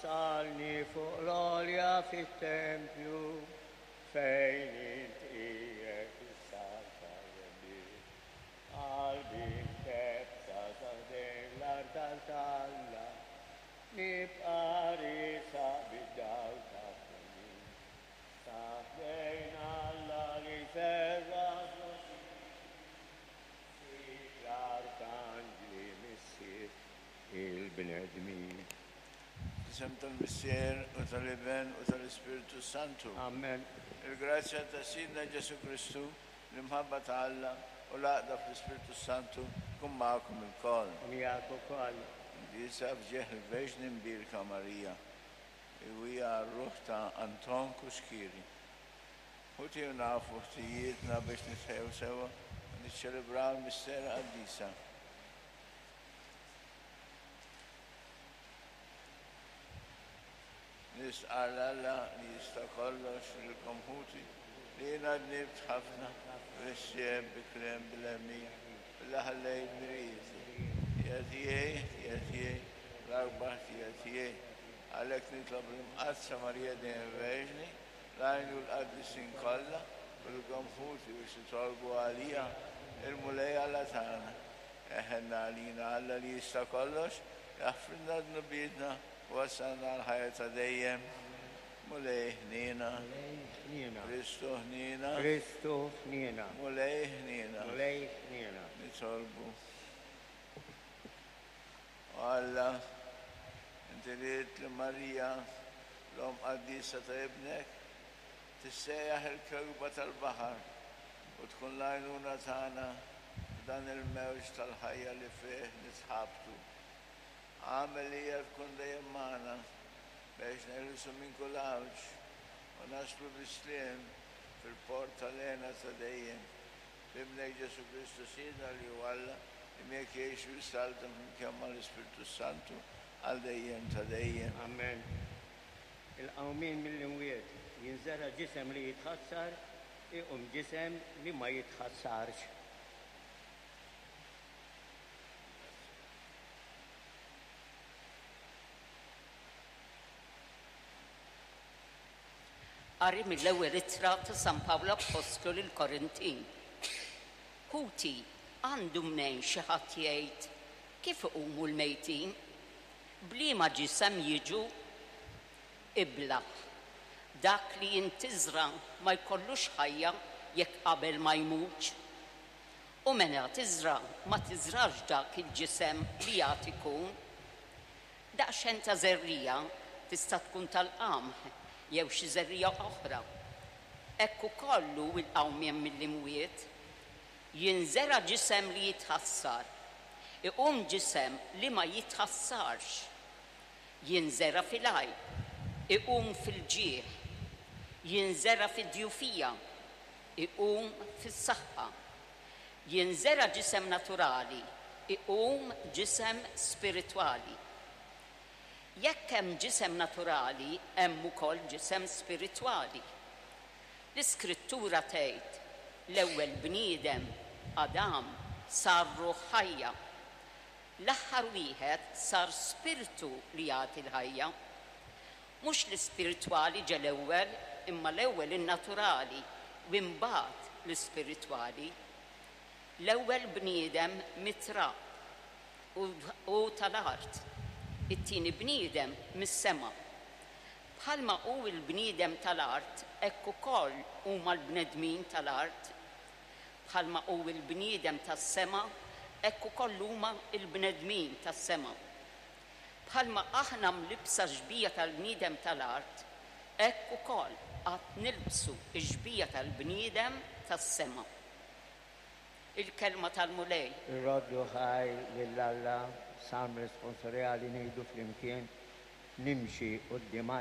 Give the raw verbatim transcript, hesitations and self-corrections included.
Wassalni fuq l-għolja fit-tempju fejn int qiegħed issaltan. Qalbi mkebbsa sa ħdejn l-artal t'Alla, nibqa' riesaq bid-dawl tat-twemmin. Sa ħdejn Alla li jferraħ l-arkanġli missier il-bnedmin. Fl-isem tal-Missier u tal-Iben u tal-Ispirtu Santu. Amen. Il-grazzja ta' Sidna Ġesù Kristu, l-imħabba ta' Alla u l-għaqda fl-Ispirtu Santu tkun magħkom ilkoll. U miegħek ukoll. Quddiesa f'ġieħ il-Verġni Mbierka Marija, u hija r-ruħ ta' Anton Cuschieri. Ħuti u nafu ħtijietna biex nitħejjew sewwa u niċċelebraw il-mistera qaddisa. Nistqarr 'l Alla li jista' kollox lilkom ħuti li jiena dnibt ħafna bil-ħsieb, bil-kliem, bil-għemil, billi ħallejt dmirijieti. Ħtija tiegħi, ħtija tiegħi, l-akbar ħtija tiegħi. Għalhekk nitlob lill-Imqaddsa Marija dejjem Verġni, l-anġli u l-qaddisin kollha, u lilkom ħuti biex titolbu għalija il-Mulej Alla tagħna. Eħenna għalina Alla li jista' kollox, jaħfrilna dnubietna u wassalna għall-ħajja ta' dejjem. Mulej ħniena. Mulej ħniena. Kristu ħniena. Kristu ħniena. Mulej ħniena. Mulej ħniena. Nitolbu. O Alla, inti ridt li Marija, l-Omm qaddisa ta' Ibnek, tissejjaħ il-kewkba tal-baħar u tkun l-għajnuna tagħna f'dan il-mewġ tal-ħajja li fih nitħabtu. Agħmel li hija tkun dejjem magħna biex neħilsu minn kull għawġ u naslu bis-sliem fil-port tal-hena ta' dejjem. B'Ibnek Ġesù Kristu Sidna li hu Alla, li miegħek jgħix u jsaltan flimkien mal-Ispirtu Santu għal dejjem ta' dejjem. Amen. Il-qawmien mill-imwiet jinżera ġisem li jitħassar, iqum ġisem li ma jitħassarx. Qari mill-ewwel ittra ta' San Pawl Appostlu lill-Korintin. Ħuti, għandu mnejn xi ħadd jgħid, kif iqumu l-mejtin? B'liema ġisem jiġu? Iblah. Dak li jintiżra ma jkollux ħajja jekk qabel ma jmutx. U meta tiżra ma tiżrax dak il-ġisem li għad ikun. Daqsxejn ta' żerriegħa tista' tkun tal-qamħ jew xi żerriegħa oħra. Hekk ukoll hu l-qawmien mill-imwiet. Jinżera ġisem li jitħassar, iqum ġisem li ma jitħassarx. Jinżera fil-għajb, iqum fil-ġieħ. Jinżera fid-djufija, iqum fis-saħħa. Jinżera ġisem naturali, iqum ġisem spiritwali. Jekk hemm ġisem naturali, hemm ukoll ġisem spiritwali. L-Iskrittura tgħid, l-ewwel bniedem, Adam, sar ruħ ħajja. L-aħħar wieħed sar spirtu li jagħti l-ħajja. Mhux l-ispiritwali ġe l-ewwel, imma l-ewwel in-naturali u imbagħad l-ispiritwali. L-ewwel bniedem mit-trab u tal-art, it-tieni bniedem mis-sema. Bħalma hu l-bniedem tal-art, hekk ukoll huma l-bnedmin tal-art. Bħalma hu l-bniedem tas-sema, hekk ukoll huma l-bnedmin tas-sema. Bħalma aħna mlibsa xbieha tal-bniedem tal-art, hekk ukoll għad nilbsu x-xbieha tal-bniedem tas-sema. Il-kelma tal-Mulej. Irroddu ħajr lil Alla, salm responsorjali ngħidu flimkien, nimxi quddiem